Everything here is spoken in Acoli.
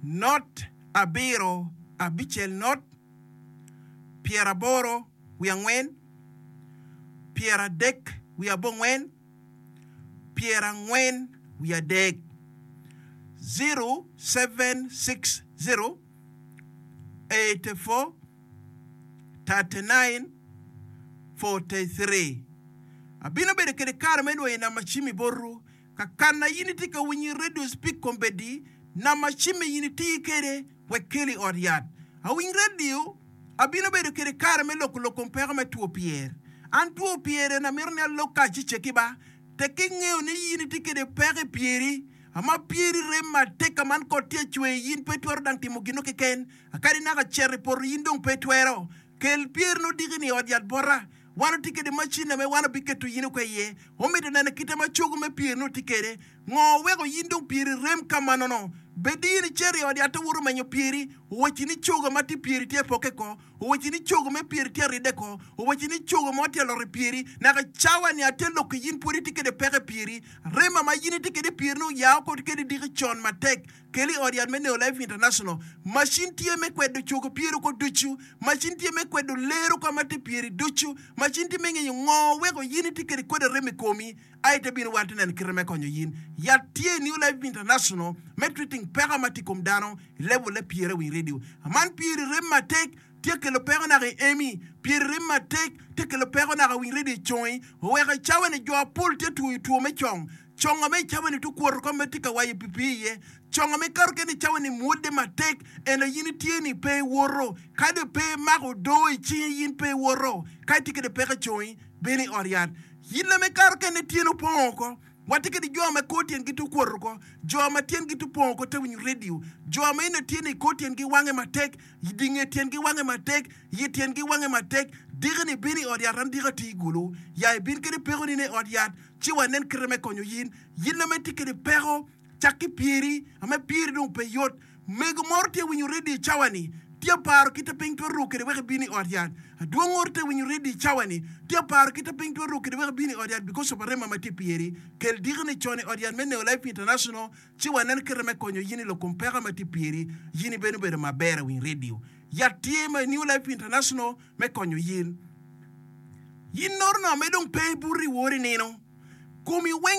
Not abiro abicel not pyeraboro wiye angwen pyeradek wiye abongwen pyerangwen wiye adek 0760 84 39 43 Abino bedo kede kare me dwoyo namba cim-mi botwu. Ka kana in itye ka winyo i redio speak kombeddi, namba cimme in iti kede wek keli i ot yat. Awiny redio, abino bedo kede kare me loko lok kom peko me two pyer. An two pyer eni amito ni alok ka acicce ba. Tek ki ngeyo ni in itye kede peko i pyeri, ama pyeri rem matek ka man kot tye cwer in pe itwero dang timo gino keken. Akadi naka cito i poto in dong pe itwero. Kel pyerni odiki-ni i ot yat bota. Wan watye kede macin ame wan wabiketo in oko iye. Omito neno kite ma cogo me pyerni otye kede. Ngo oweko in dong pyeri rem ka manono? Bed in icito i ot yat owoto menyo pyeri, owacci ni cogo ma tye pyeri tye apokke ko, owacci ni cogo me pyeri tye aridde ko, owacci ni cogo mo tye alot i pyeri. Naka cawa-ni atye lok ki in pwod itye kede peko i pyeri. Rema ma in itye kede i pyeri-ni oya oko kede diki con matek. Kel i ot yat me Neo Life International. Macin tye me kwedo cogo pyeri oko ducu. Macin tye me kwedo lero ka ma tye pyeri ducu. Macin tye me ngeyo ngo weko yin itye kede kwedo arem i komi. Ai te bino wan te neno kite me konyo yin. Yat tye i New Life International me treating peko ma tye i kom dano i level le pyere winy radio. Aman pyeri rem matek tye kelo peko naka i emi. Pyeri rem matek tye kelo peko naka winy radio i congi. Oweko i cawa ni jo apol tye twoyo two me cong. Conga me i cawa-ni tye kwoto ka ma itye ka wayo pii iye. Conga ma ikato kene i cawa-ni mwodde matek, ento in itye ni pe iwoto. Kadi pe imako odoo i cingi, in pe iwoto. Ka itye kwede peko i congi, bino i ot yat. In ma ikato kene tyeni opong oko. Watye kwede jo ma kor tyengi tye okwoto oko, jo ma tyengi tye opong oko te winyo redio, jo ma eno tye ni kor tyengi wange matek, di nge tyengi wange matek, yi tyengi wange matek. Diki-ni bino i ot yat, an diki atye i gulu. Ya ibin kede pekoni i ot yat. ci wanen kite me konyo yin. Yin ame itye kede peko, cak ki pyeri, ame pyeri dong pe yot. Mego moro tye winyo redio i cawa ni, tye paro kite piny twero ruk kede wek ebin i ot yat. Adwong oro tye winyo redio i cawa ni, tye paro kite piny twero ruk kede wek ebin i ot yat because of arema ma tye pyeri. Kel diki ni con i ot yat me Neo Life International ci wanen kite me konyo yin i lok kom peko ma tye pyeri. Yin ibeno bedo maber awiny redio. Yat tye ma i New Life International me konyo yin. Yin noro no ame dong pe ibuto i wori nino, komi weng.